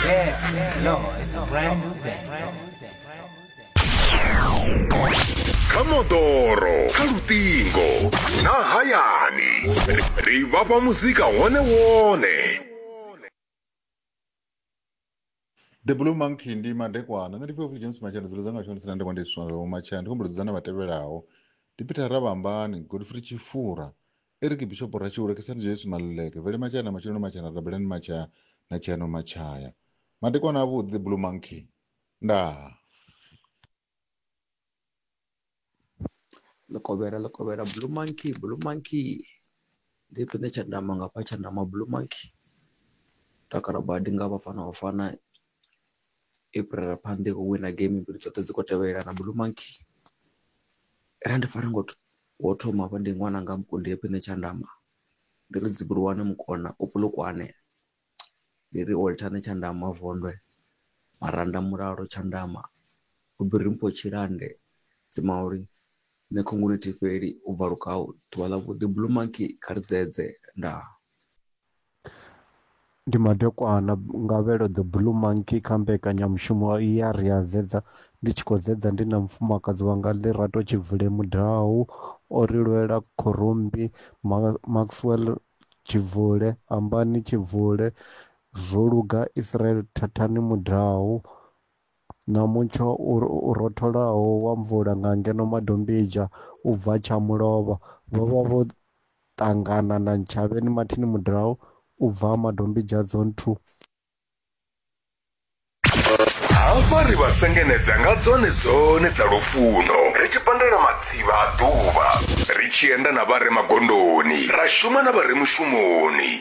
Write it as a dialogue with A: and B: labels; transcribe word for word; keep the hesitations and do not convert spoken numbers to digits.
A: Yes, Lord, it's a brand new day.
B: Kha moḓoro, kha luṱingo na hayani, ri vhafha muzika wone wone.
C: The Blue Monkey ndi madekwana. Nṋe ndi Pfefi James Matshana, dzulo dzanga tshone sina ndekwa ndi swana zwa Matshana. Ndi khombo dzudzana vhatevhelaho. Ndi Peter Rabambani, Godfrey Tshifura, Eric Bishop Ratshiule, Kesani Joyce Maluleke, Vele Matshana, Matshelo Matshana, Rabelani Matshaya na Tshiano Matshaya. Madekwana avhuḓi, The Blue Monkey. Ndaa.
D: Ḽikovhela ḽikovhela Blue Monkey Blue Monkey ndi pine tshandama ngafha tshandama Blue Monkey takala badi nga Bafana Bafana April phanḓa i khou wina game mbili dzoṱhe dzi khou tevhelelana Blue Monkey. Ra ndi fara ngo wo thoma hafha ndi ṅwananga Mukundi pine tshandama ndi ri dzibulwane mukona u Polokwane ndi ri Olthane tshandama Vondwe Maranda Mulalo tshandama Ubirimpho Tshilande Dzimauli nṋe khunguni thifheli u bva Lukau ḓuvha ḽa vhuḓi Blue Monkey kha ri dzedze ndaa.
E: Ndi madekwana ngavhelo The Blue Monkey kha mbekanyamushumo ya ri a dzedza. Ndi tshi khou dzedza ndi na mufumakadzi wanga Lerato Tshibvule Mudau, o ri lwela Khorombi, Ma- Maxwell Tshibvule, Ambani Tshibvule, Zwoluga Israel Thathani Mudau, na mutsho u rotholaho wa mvula nga ngeno Madombidzha u bva Tshamulovha. Vho vha vho ṱangana na Ntshavheni Martin Mudau u bva Madombidzha Zone two.
B: Hafha ri vha sengenedza nga dzone dzone dza lufuno, ri tshi pandela matsivha a ḓuvha, ri tshi enda na vha re magondoni, ra shuma na vha re mushumoni.